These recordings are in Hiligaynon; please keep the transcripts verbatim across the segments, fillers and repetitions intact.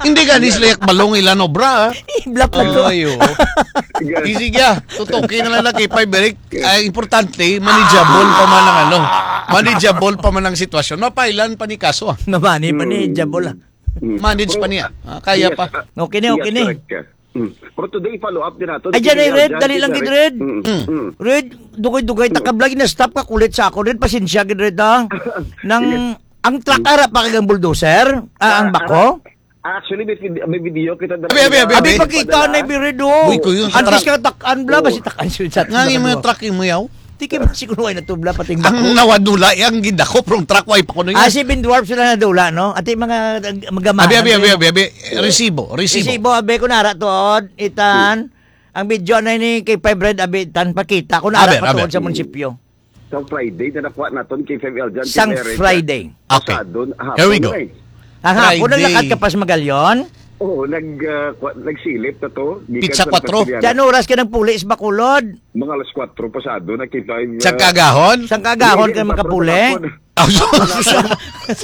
Hindi gani sila yak balong ilan obra, ah. Iblap na to. Ay, oo. Sige. Easy ka. Tutuki na lang na kay five, Eric. Ay, importante, manageable pa man ang ano. Manageable pa man ang sitwasyon. Mapailan pa ni kaso, ah. Mabani pa ni Mm. Jabol, ah. Mm. Manage Pero, pa niya. Ah, kaya yes, pa. ah, Okay ni, yes, okay ni. correct ka. Mm. Pero today, follow up din nato. Ay, dyan ay Red, dali lang gid, Red. Mm, Mm. mm. Red, dugay-dugay ta ka vlog, na-stop ka kulit sa ako, Red. Pasensya gid, Red, ah. Nang, Yes. ang truck ara pa kag ang bulldozer, ah, ang Ah, bako? ara. Actually, may vid-, may video kita dala Abi, abi, niya. abi, Abi, abi. pagkita na, Red, oh. Uy, kuya, sa Antes truck. ka takan, bla, Oo. basi takan siya sa Nga yung mga truck yung muyaw. Tiki ba siguro ay natubla, pati yung Ang bako? nawadula, yung gidako, from truck, way pa kuno Ah, yan. si Ben Dwarf sila nadula, no? Ati mga, mga Abi, abi, abi, abi, abi. Resibo, resibo. Resibo, abi, kung nara to, oh, itan. Ang video na ni kay Five Red, abi, tan, pakita. Kung nara Aber, pa aber. to sa munisipyo. Sa Friday na nakuha naton kay Five L dyan, Sang kay Mary Friday. Okay. Pasado, Here we hapon go. na eh. Ang hapon, Friday. naglakad ka pa sa Magallaon? Oo, nag, ah, kwa-, nagsilip na to. Gikan Pizza sa Quattro. Pilipinas. Diyan oras ka ng pulis, Bacolod. Mga alas kwatro pasado na kay Five, Sa ah, kagahon? Sang kagahon hindi, ka patro makapuli. hapon. Ah, so,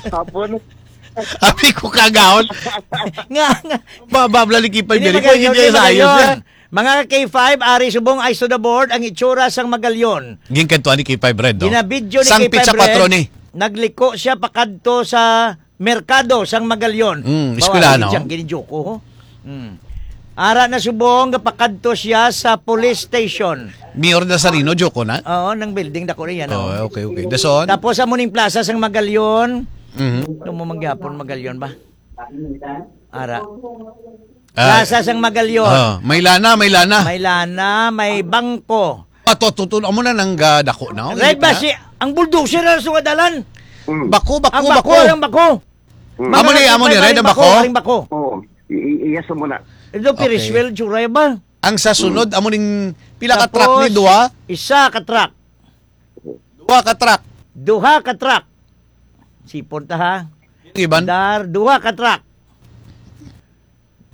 Hapon. Abi ko kagahon. Nga, nga. Ba, ba, blali kay Five Hindi Eric. Magallaon, Hindi hindi sa ayos Magallaon. yan. Mga K five, ari subong, eyes to the board, ang itsura sang Magallaon. Ginkadtuan ni K five Red, no? Ginabidyo ni Sang K five Pizza Red, Quattro ni. nagliko siya pakadto sa merkado sang Magallaon. Mm, Bawa, eskwelahan, lagi no? siyang ginijuko, ho. Mm. Ara na subong, gapakadto siya sa police station. Mayor Nazareno, joke na? Oo, nang building dako na yan, Oh, oh. okay, okay. Dason? Tapos, amo ning plaza sang Magallaon. Mhm. Ano mo manggihapon, Magallaon ba? Ara. Ah, Plaza sang Magallaon. Oh, may lana, may lana. May lana, may bangko. Ato, tuto, amo na nang, ah, dako na, oh, Red hindi ba na? si, ang bulldozer na sa dalan? Mm. Bako, bako, Ang bako, bako. ang bako. Mm. Mga Amo ni, amo ni, nagpipay, Red, ang ang bako, bako. ang bako. Oo. I-, i-, iyas mo na. Ito, Okay. Ferris wheel, tsuray ba? Ang sa sunod, Mm. amo ning pila ka truck ni? Tapos, Duha? isa ka truck. Duha ka truck. Duha ka truck. Sipon ta, ha? Iban? Dar, duha ka truck.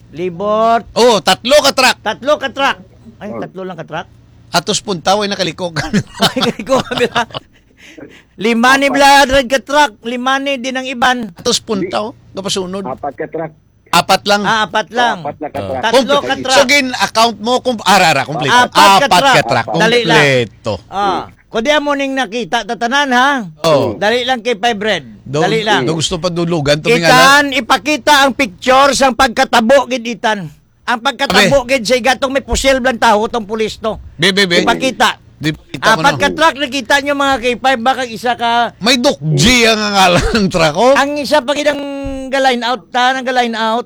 Libot. Oh, tatlo ka truck. Tatlo ka truck. Ay, Oh. tatlo lang ka truck? Atos punta, way nakaliko ka. Ay, kaliko kami lang. Lima ni Apat. Blood Red ka truck. Lima ni din ang iban. Atos punta, oh. Kapasunod. Apat ka truck. Apat lang. Ah, apat lang. Apat na ka Oh. truck. Tatlo Kumple-, ka truck. So, gin-account mo, kung, ara, ara, kompleto. Apat ka Apat truck. ka truck. Dali lang. Kompleto. Ah, kundi amo ning nakita, tatanan, ha? Oh. Dali lang kay Five Red. Do, Dali lang. do gusto pa dulugan to, mga Itan, ipakita ang picture sang pagkatabo gid, Itan. Ang pagkatabo Abe. gid sa igatong may pusil blang taho tong pulis to. Be, be, be. Ipakita. Di, kita ko Apat na. ka truck nakita nyo, mga K five, baka isa ka May Doc G ang ngalan ng truck, oh. Ang isa pa gid ang ga-line out, ta, nang ga-line out.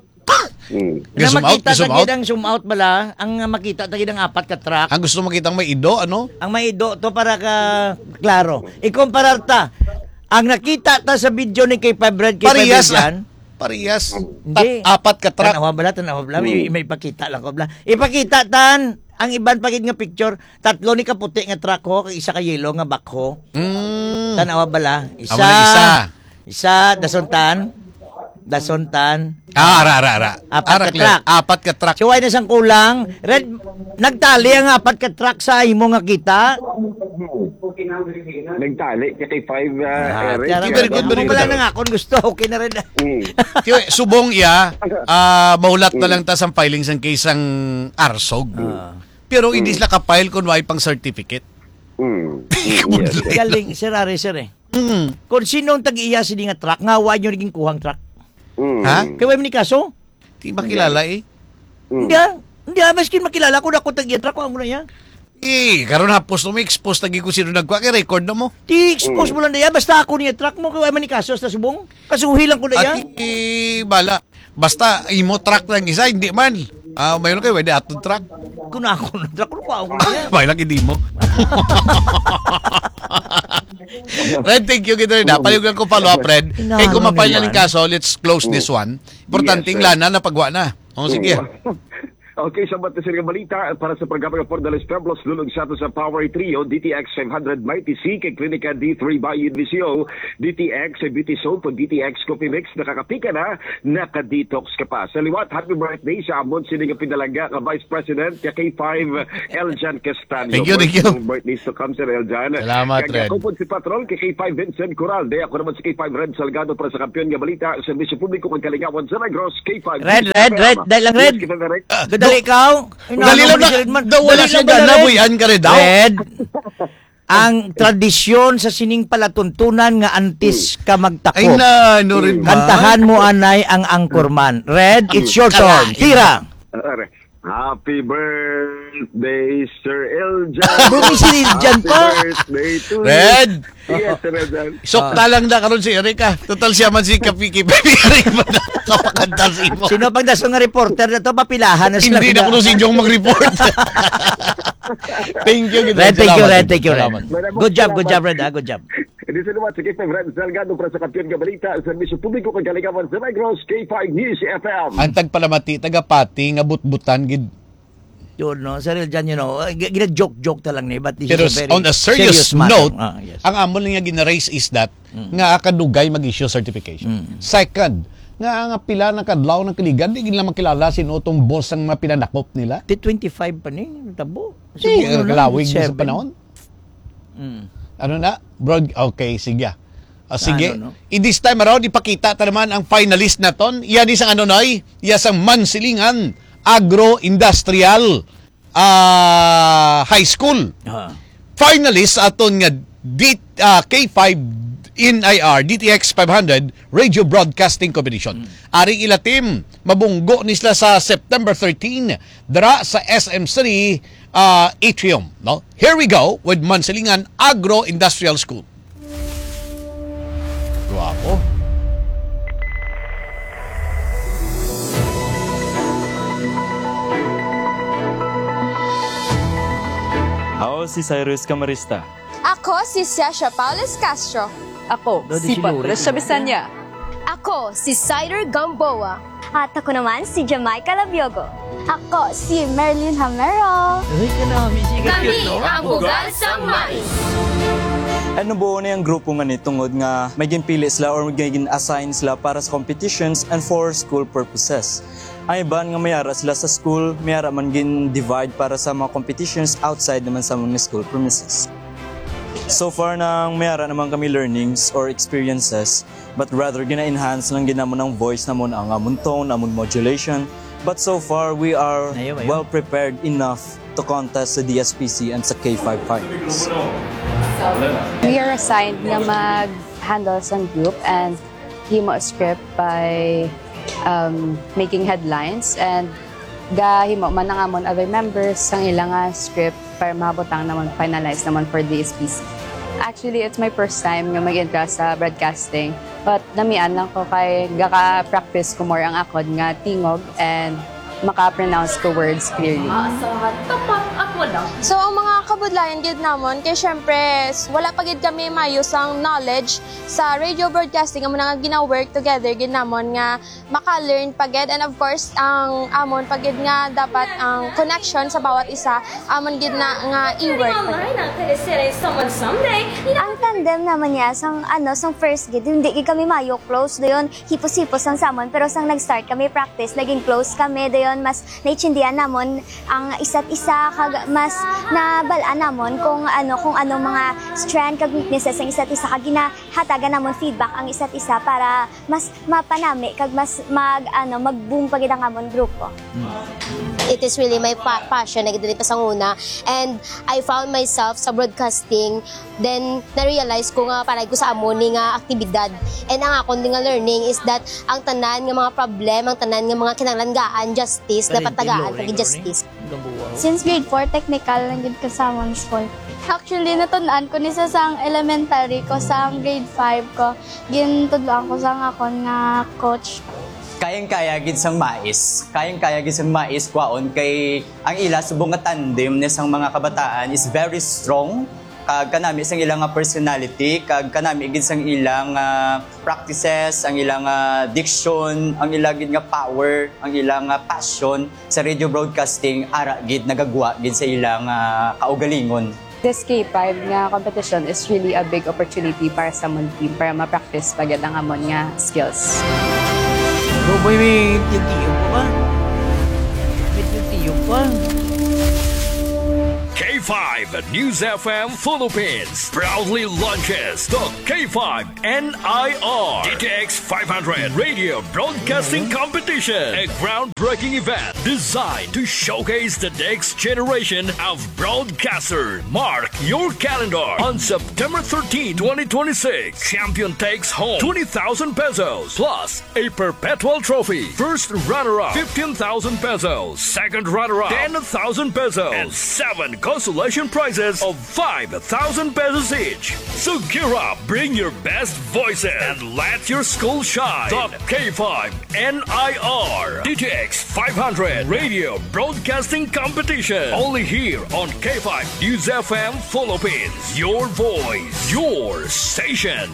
Mm. Na Ga-zoom out, makita ga-zoom ta gid out. ang zoom out bala, ang makita ta gid ang apat ka truck. Ang gusto makita ang may ido, ano? Ang may ido to para ka klaro. Ikumparar ta. Ang nakita ta sa video ni K five Red, K five Parehas Red lang. yan. Parehas. Hindi. Tat-, apat ka truck. Tanawa bala, tanawa bala. May, Mm. may pakita lang ko bala. Ipakita tan ang iban pa gid nga picture. Tatlo ni kaputi nga truck ho, kag isa ka yellow nga backhoe. Mm. Tanawa bala. Isa. Amo na isa. Isa, dason tan. Dason tan. Ah, ara, ara, ara. Apat Ara, ka clear. truck. Apat ka truck. So, ay na sang kulang. Red, nagtali ang apat ka truck sa imo nga kita? Nagtali ka kay five, ah, Ah, Eric. tiara Very good, mo very pala good. nang akon gusto. Okay na rin. Mm. Tiyo, subong iya, ah, mahulat na Mm. lang ta sang filing sang case sang Arsog. Ah. Pero hindi Mm. sila ka-file kung wala pang certificate. Mm. Mm, yes, yes. Galing, Sir Ari, sir, eh. Mm. Kung sino ang tag-iya sini nga truck, nga wa nyo naging kuhang truck. Mm. Ha? Kay wa man ni kaso? Di makilala, eh. Mm. Hindi, ah. Hindi, ah, maskin makilala ko na ako tag-iya truck, ang muna niya. Eh, karon hapos mo, expose lagi kung sino nagkuha, kay record na mo. Di expose Mm. mo lang na yan, basta ako niya truck mo, kay wa man ni kaso sa subong. Kasuhi lang ko na yan. Ati, bala. Basta imo truck lang isa, hindi man. Ah, mayroon kayo, pwede atong truck. Kung ako na truck, kung ako na yan. May lang, hindi mo. Red, thank you, kita rin, ha? Palihog lang ko follow up, Red. Inaano Eh, kung ma-file na nila? ning kaso, let's close Mm. this one. Importante, Yes, sir. lana na pagwa na. Oh, sige. Mm. Okay, sa matasin nga balita, para sa programa nga For the Less Pueblos, dulog sa ato sa Power Trio, D T X five hundred Mighty C, kay Klinika D three Bayan V C O, D T X, Beauty Soap, D T X Coffee Mix, nakakapi ka na, naka-detox ka pa. Sa liwat, happy birthday sa amon sini nga pinalangga nga Vice President, ka K five, Eljan Castaño. Thank you, thank you. More birthdays to come, Sir Eljan. Salamat, Kag Red. Ako po si Patrol, ka K five Vincent Coral. Day, ako naman si K five Red Salgado para sa Kampiyon nga Balita, Serbisyo Publiko kag Kalingawan sa Negros, K five Red, News Red, F M. Red, dahil lang Yes, Red. Kita na, Red. Ah, Gadali do-, ka, oh. Ay, dali ano, lang na, Red man. Daw wala Dali siya lang ba, Red? Nanabuyan ka, Red, daw? Red, ang tradisyon sa sining palatuntunan nga antes Hmm. ka magtakop, Ay, na, no, Red, Hmm. man. Kantahan mo, anay, ang anchorman. Red, it's your turn. Kalain. Tira. Are, happy birthday, Sir Eljan. Doon si Eljan Happy pa. Birthday to you. Red! Yes, Sir Eljan. Sukta Ah. lang na karon si Erica. Total siya man si Kapiki. Baby Eric man ang kapakanta sa imo. Sino pang daso nga reporter na to? Papilahan na sila Hindi na na. Kuno si Jong mag-report. Thank you, Red, thank you, salamat. Red, thank you, Red. Salamat. Good job, good job, Red, ah, good job. Hindi sa liwat, si K five Red Salgado para sa Kampiyon nga Balita, Serbisyo Publiko kag Kalingawan sa Negros, K five News F M. Ang tagpalamati, tagapati nga butbutan gid. Yun, no? Sir Eljan, you know, uh, g-, gina-joke-joke ta lang ni, but this Pero is a s-, very on a serious serious matter. Note, Ah, yes. ang amo lang nga gina-raise is that Mm. nga kadugay mag-issue certification. Mm. Second, nga nga pila na kadlaw ng kaligan, di gid lang makilala sino tong boss ang mga pinanakop nila. Ti twenty-five pa ni, tabo. Di, Siguro eh, na, kalawig na sa seven. Panahon. Mm. Ano na? Broad-, okay, sige. Ah, sige. Ano, no? I-, this time around, ipakita ta naman ang finalist naton. Yan isang ano, Noy? Yan isang Mansilingan Agro-Industrial, ah, High School. Ah. Finalist aton nga D-, ah, K five N I R, D T X five hundred Radio Broadcasting Competition. Mm. Ari ila team, mabunggo ni sila sa September thirteen, dira sa S M three, ah, Atrium, no? Here we go with Mansilingan Agro-Industrial School. Guwapo. Ako si Cyrus Camarista. Ako si Sasha Paulus Castro. Ako Dodi si Siluri. Patricia Bisanya. Ako si Cider Gamboa. At ako naman si Jamaica Labiogo. Ako si Merlin Hamero. Uy, ka na, may sikat Kami yun, no? Ang ugal sang mais. Ano, buo na yung grupo nga ni tungod nga may ginpili sila or may gin-assign sila para sa competitions and for school purposes. Ang iban nga mayara sila sa school, mayara man gin-divide para sa mga competitions outside naman sa mga school premises. So far, nang mayara naman kami learnings or experiences, but rather gina-enhance lang gid namon ang voice namon, ang amon tone, amon modulation. But so far, we are Ayaw, ayaw. well prepared enough to contest sa D S P C and sa K five finals. We are assigned nga mag-handle sang group and himo script by, um, making headlines, and gahimo man ang amon other members sang ila nga script para mahabutang namon, finalize namon for D S P C. Actually, it's my first time nga mag-entra sa broadcasting, but namian lang ko kay gaka-practice ko more ang akon nga tingog and maka-pronounce ko words clearly. Ah, sa tapat ako lang. So, ang mga kabudlayan gid namon, kay syempre, s-, wala pa gid kami mayo sang knowledge sa radio broadcasting, amo na nga gina-work together gid namon nga maka-learn pa gid. And of course, ang amon pa gid nga dapat ang connection sa bawat isa, amon gid na nga i-work pa gid. Ang tandem naman niya, sang, ano, sang first gid, hindi gid kami mayo close, dayon hipos-hipos ang samon, pero sang nag-start kami practice, naging close kami, dayon mas naintindihan namon ang isa't isa, kag mas nabal-an namon kung ano, kung ano mga strength kag weaknesses ang isa't isa, kag ginahatagan namon feedback ang isa't isa para mas mapanami kag mas mag, ano, mag-boom pa gid ang amon grupo. It is really my pa-, passion na gid diri pa sa una, and I found myself sa broadcasting. Then, na-realize ko nga pareho ko sa amo ni nga aktibidad. And ang akon din nga learning is that ang tanan nga mga problem, ang tanan nga mga kinahanglan gaan justice, dapat tagaan kag justice. Since grade four, technical lang gid ko sa among school. Actually, natun-an ko ni sa sang elementary ko, sa grade five ko, gintudloan ko sa akon nga coach. Kayang-kaya gid sang mais. Kayang-kaya gid sang mais kwaon kay ang ila subong nga tandem ni sang mga kabataan is very strong. Kag kanami sang ila nga personality, kag kanami gid sang ila nga practices, ang ila nga diction, ang ila gid nga power, ang ila nga passion sa radio broadcasting, ara gid nagagwa gid sa ila nga kaugalingon. This K five nga competition is really a big opportunity para sa amon team para ma-practice pa gid ang amon nga skills. Bro, boy, may tiyog-tiyog pa. May tiyog-tiyog pa. K five News F M Philippines proudly launches the K five N I R D T X five hundred Radio Broadcasting Competition, a groundbreaking event designed to showcase the next generation of broadcaster. Mark your calendar. On September thirteenth, twenty twenty-six, champion takes home twenty thousand pesos plus a perpetual trophy. First runner-up, fifteen thousand pesos. Second runner-up, ten thousand pesos. And seven consolation prizes of five thousand pesos each. So gear up, bring your best voices, and let your school shine. The K five N I R D T X five hundred Radio Broadcasting Competition. Only here on K five News F M Philippines. Your voice, your station.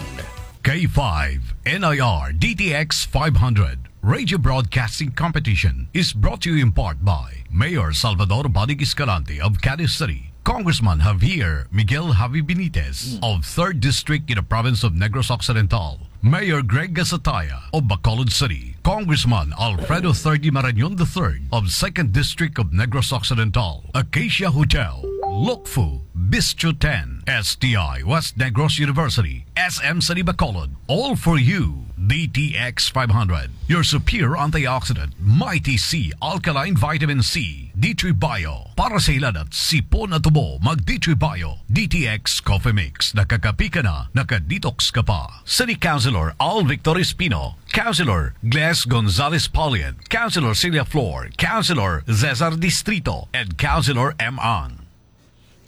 K five N I R D T X five hundred Radio Broadcasting Competition is brought to you in part by Mayor Salvador Bonig Escalante of Cadiz City, Congressman Javier Miguel Javi Benitez of third District in the province of Negros Occidental, Mayor Greg Gasataya of Bacolod City, Congressman Alfredo Third Marañon the third of second District of Negros Occidental, Acacia Hotel, Lukfu, Bistro ten, S T I West Negros University, S M City Bacolod, all for you, D T X five hundred, your superior antioxidant, Mighty C alkaline vitamin C, D three Bio, para sa hilanat, sipon at ubo, mag D three Bio, D T X Coffee Mix, nakakapi ka na, naka-detox ka pa. City Councilor Al Victor Espino, Councilor Gles Gonzalez Paulian, Councilor Celia Flor, Councilor Cesar Distrito, and Councilor M. Ang.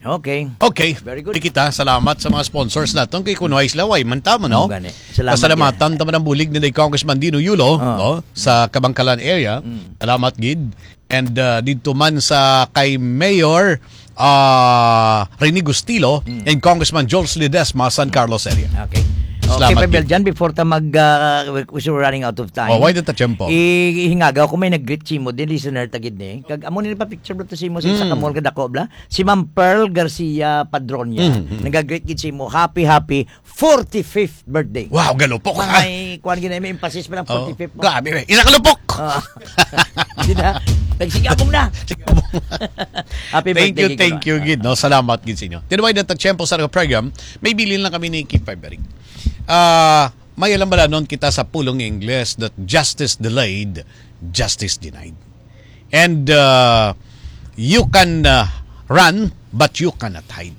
Okay. Okay. Very good. Di kita, salamat sa mga sponsors naton. Kay kuno ay sila, way man tamo, no? Mm, gani. Salamat, Pasalamatan ta man ang bulig ni Congressman Dino Yulo, Ah. no? Sa Kabangkalan area. Mm. Salamat gid. And, uh, dito man sa kay Mayor, uh, Rene Gustilo Mm. and Congressman Jules Ledesma, San Carlos area. Okay. Salamat Okay, Pabel, gid. Jan, before ta mag, uh, we, we're running out of time. Oh, why the tiyempo? I-, ihingagaw ko may nag-greet si mo, din listener ta gid ni. Kag amo ni pa picture bro to si mo sa isa ka Mm. mall kadako, bla. Si Ma'am Pearl Garcia Padronia. Mm, mm. Nag-greet gid si mo. Happy, happy forty-fifth birthday. Wow, galupok, Kung ah. may, kuwan gid na, may emphasis pa ng Oh, forty-fifth mo. grabe, eh. Isa ka lupok! Ah. Di na. Nagsigabong na. Happy Thank birthday, you, Kiko. thank you, gid, no? Salamat, gid, sa inyo. Tinuway na tag-tiyempo sa program, may bilin lang kami ni Kip February. Ah, may alam bala nun kita sa pulong Ingles that justice delayed, justice denied. And, uh, you can, uh, run, but you cannot hide.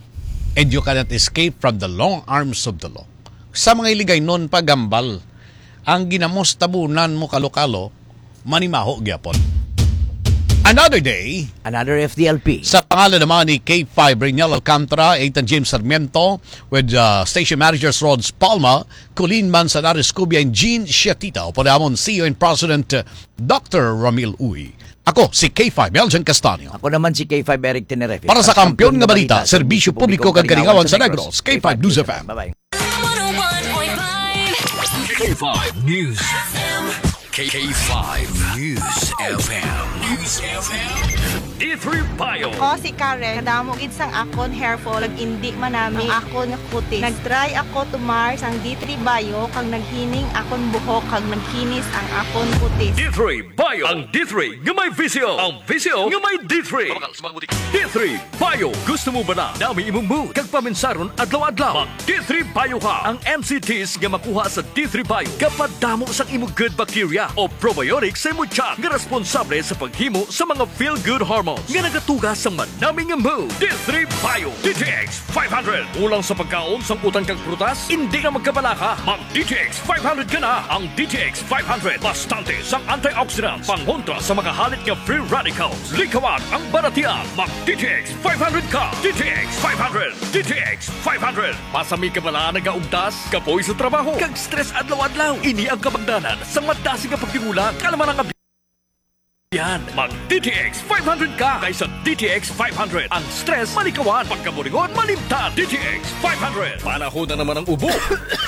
And you cannot escape from the long arms of the law. Sa mga Iligaynon, pagambal, ang ginamos tabunan mo kalo-kalo, manimaho gyapon. Another day, Another F D L P. Sa pangalan naman ni K five Reniel Alcantara, Ethan James Sarmiento, with, uh, Station Managers Rods Palma, Colleen Manzanares Cubia, and Jean Siatita, upod namon C E O and President, uh, Doctor Ramil Uy. Ako si K five Eljan Castanio. Ako naman si K five Eric Tenerife. Para sa Kampiyon nga Balita, Serbisyo Publiko kag Kalingawan sa Negros, K five News F M. Bye-bye. One oh one point five. K five News F M. K five News F M. News F M. D three Bio. Ako si Karen. Kadamo gid sang akon hair fall, kag indi manami ang akon nga kutis. Nag-try ako tumar sang D three Bio, kag naghining akon buhok, kag nagkinis ang akon kutis. D three Bio. Ang D three nga may visyo. Ang visyo nga may D three. Mabakal sa mga butik. D three Bio. Gusto mo ba na nami imong mood kag paminsaron adlaw-adlaw? Mag D three Bio ka. Ang M C Ts nga makuha sa D three Bio gapadamo sang imo good bacteria o probiotics sa imo tiyan nga responsable sa paghimo sa mga feel-good hormones nga nagatuga sa manami nga mood. D three Bio, D T X five hundred. Kulang sa pagkaon sang utan kag prutas? Indi na magkabalaka. Mag D T X five hundred ka na. Ang D T X five hundred bastante sang antioxidants, pangontra sa mga halit nga free radicals. Likawan ang balatian. Mag D T X five hundred ka. D T X five hundred. D T X five hundred. Pasami ka bala nagaugtas, kapoy sa trabaho, kag stress adlaw-adlaw? Ini ang kabangdanan sang madasig nga pagdingula, kalamanan nga Yan, mag D T X five hundred ka kaysa D T X five hundred. Ang stress malikawan, pagkaburingon malimtan. D T X five hundred. Panahon na naman ang ubo,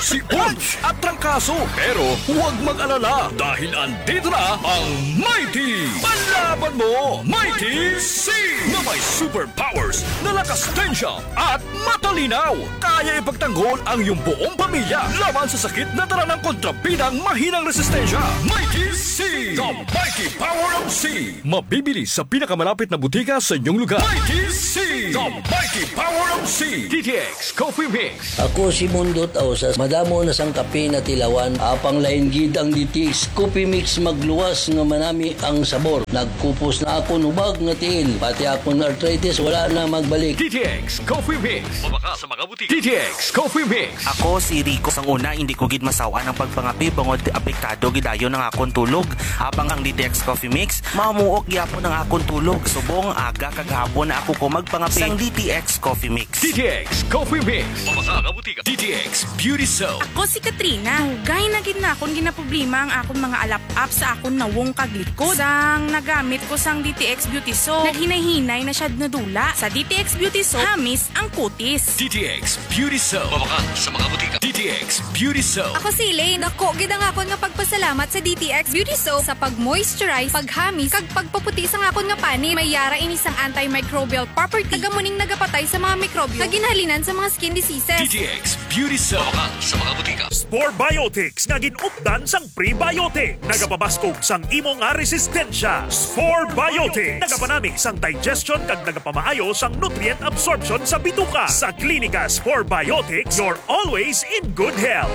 sipon, at trangkaso. Pero huwag mag-alala dahil andito na ang Mighty Panlaban Mo, Mighty C, na may superpowers na lakas tensya at matalinaw. Kaya ipagtanggol ang iyong buong pamilya laban sa sakit na dala ng kontrabidang mahinang resistensya. Mighty C, the mighty power of C. Mabibili sa pinakamalapit na butika sa inyong lugar. Mighty C, the mighty power of C. D T X Coffee Mix. Ako si Mundot Ausas. Madamo na sang kape na tilawan. Apang lain gid ang D T X Coffee Mix, magluwas nga manami ang sabor. Nagkupos na akon hubag nga tiil. Pati akon arthritis wala na magbalik. D T X Coffee Mix. Mabakal sa mga butika. D T X Coffee Mix. Ako si Rico. Sang una, hindi ko gid masawan ang pagpangape bangod apektado gid dayon ang akon tulog. Habang ang D T X Coffee Mix, mamuok gyapon ang akon tulog. Subong aga kag hapon na ako ko magpangape sang D T X Coffee Mix. D T X Coffee Mix. Mabakal sa mga butika. D T X Beauty Soap. Ako si Katrina. Dugay na gid na akon ginaproblema ang akon mga alap-ap sa akon nawong kag likod. Sang nagamit ko sang D T X Beauty Soap, naghinay-hinay na siya nadula. Sa D T X Beauty Soap, hamis ang kutis. D T X Beauty Soap. Mabakal sa mga butika. D T X Beauty Soap. Ako si Elaine. Dako gid ang akon nga pagpasalamat sa D T X Beauty Soap sa pag-moisturize, paghamis, kag pagpaputi sang akon nga panit. May yara ini sang antimicrobial property. Taga muning nagapatay sa mga mikrobyo nga ginhalinan sa mga skin diseases. D T X Beauty Soap. Mabakal sa mga butika. Spore Biotics nga gin-updan sang prebiotic. Nagapabaskog sang imo nga resistensya. Spore Biotics. Nagapanami sang digestion kag nagapamaayo sang nutrient absorption sa bituka. Sa Klinika Spore Biotics, you're always in good health.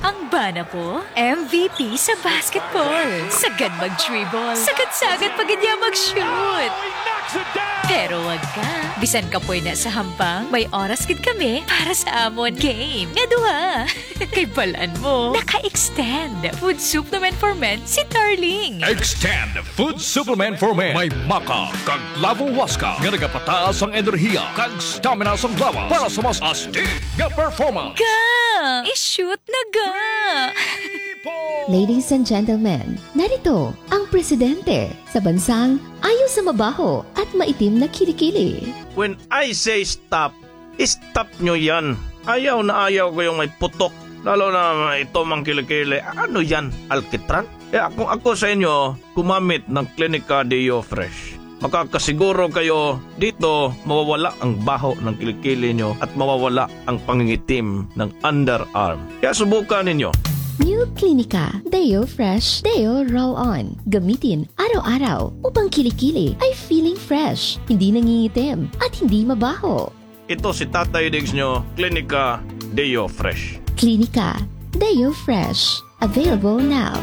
Ang bana ko, M V P sa basketball. Sagad mag-dribble. Sagad-sagad pa gid niya mag-shoot. Pero wag ka. Bisan kapoy na sa hampang, may oras gid kami para sa amon game nga duha. Kay balan mo, naka-extend Food Supplement for Men si Darling. Extend Food Supplement for Men. May maca kag clavo huasca nga nagapataas ang enerhiya kag stamina sang lawas para sa mas astig nga performance. Ga! I-shoot na ga! Ladies and gentlemen, narito ang presidente sa bansang ayaw sa mabaho at maitim na kilikili. When I say stop, stop nyo yan. Ayaw na ayaw ko yung may putok. Lalo na ito mang kilikili. Ano yan? Alkitran? Kaya kung ako sa inyo, gumamit ng Clinica Deo Fresh. Makakasiguro kayo dito mawawala ang baho ng kilikili nyo at mawawala ang pangingitim ng underarm. Kaya subukan ninyo. New Clinica Deo Fresh Deo Roll On. Gamitin araw-araw upang kilikili ay feeling fresh, hindi nangingitim, at hindi mabaho. Ito si Tatay Diggs nyo, Klinika Deo Fresh. Klinika Deo Fresh. Available now.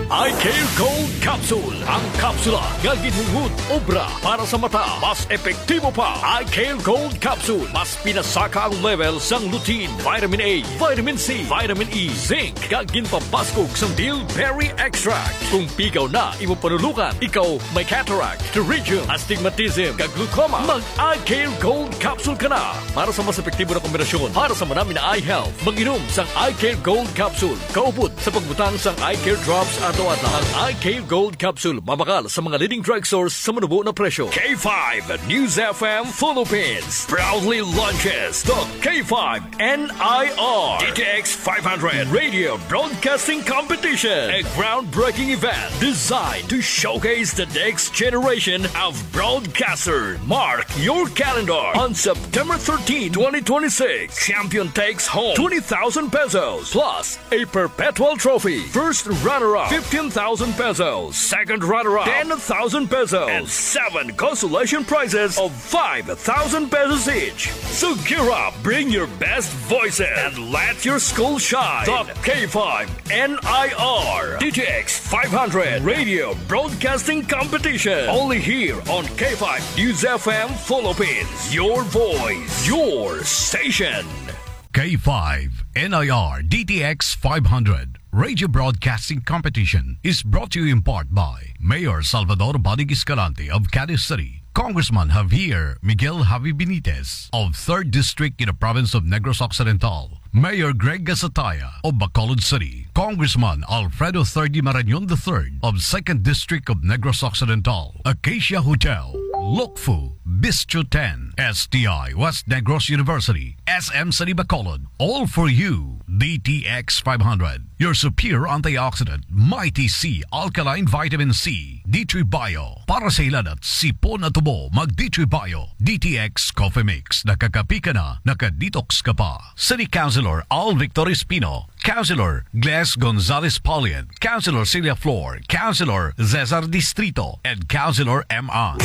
Eye Care Gold Capsule. Ang kapsula nga ginhingud obra para sa mata. Mas epektibo pa. Eye Care Gold Capsule. Mas pinasaka ang level sang lutein, vitamin A, vitamin C, vitamin E, zinc, kag ginpabaskog sang bilberry extract. Kung pigaw na imo panulungan, ikaw may cataract, pterygium, astigmatism, kag glaucoma, mag Eye Care Gold Capsule ka na. Para sa mas epektibo na kombinasyon para sa manami na eye health, mag-inom sang Eye Care Gold Capsule kaupod sa pagbutang sang Eye Care Drops adlaw-adlaw. Ang Eye Care Gold Capsule mabakal sa mga leading drugstores sa manubo na presyo. K five News F M Philippines proudly launches the K five N I R D T X five hundred Radio Broadcasting Competition, a groundbreaking event designed to showcase the next generation of broadcasters. Mark your calendar on September thirteen, twenty twenty-six. Champion takes home twenty thousand pesos plus a perpetual trophy. First runner-up, fifteen thousand pesos. Second runner-up, ten thousand pesos. And seven consolation prizes of five thousand pesos each. So gear up, bring your best voices, and let your school shine. The K five N I R D T X five hundred Radio Broadcasting Competition. Only here on K five News F M Philippines. Your voice, your station. K five N I R D T X five hundred Radio Broadcasting Competition is brought to you in part by Mayor Salvador Bodig Escalante of Cadiz City, Congressman Javier Miguel Javi Benitez of third District in the province of Negros Occidental, Mayor Greg Gasataya of Bacolod City, Congressman Alfredo Third Marañon the third of second District of Negros Occidental, Acacia Hotel, Lukfu, Bistro ten, S T I West Negros University, S M City Bacolod, all for you, D T X five hundred. Your superior antioxidant, Mighty C Alkaline Vitamin C, D three Bio. Para sa hilanat, sipon at tubo, mag D three Bio, D T X Coffee Mix. Nakakapi ka na, naka-detox ka pa. City Councilor Al Victor Espino, Councilor Gles Gonzalez Paulian, Councilor Celia Flor, Councilor Cesar Distrito, and Councilor M I.